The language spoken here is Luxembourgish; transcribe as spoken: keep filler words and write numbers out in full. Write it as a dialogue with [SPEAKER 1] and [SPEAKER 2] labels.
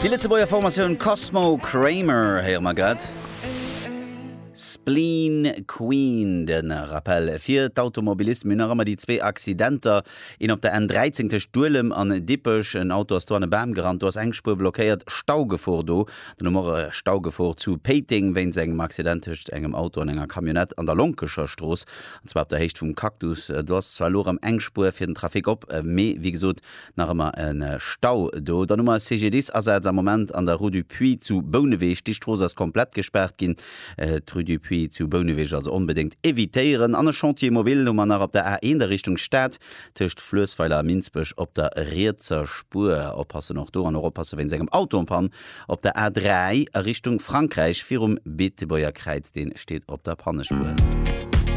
[SPEAKER 1] Déi Lëtzebuerger Formatioun Cosmo Kramer héiere mer grad. Spleen Queen, de Rappel fir d'Automobilisten, mir hunn nach ëmmer déi zwee Accidenter, een op der N dräizéng tëscht Duelem an Dippech, en Auto ass do an e Bam gerannt, do ass eng Spuer blockéiert, Staugefor do. Dann hu mer och e Staugefor zu Péiteng wéinst engem Accident tëscht engem Auto an enger Camionnette an der Lonkecher Strooss, an zwar op der Héicht vum Cactus. Do ass zwar elo erëm eng Spuer fir den Trafic op, mee wéi gesot nach ëmmer e Stau do. Dann hu mer e C G D I S-Asaz am Moment an der Rue du Puits zu Bouneweg. Déi Strooss ass komplett gespaart ginn. D'Rue du Puits zu Bouneweg also onbedéngt evitéieren. An e Chantier mobile hu mer nach op der A eent a Richtung Stad tëscht Fluessweiler a Minsbech op der rietser Spuer. Oppassen och do an och oppasse wéinst engem Auto en panne op der A dräi a Richtung Frankräich virum Beetebuerger Kräiz, dee steet op der Pannespuer.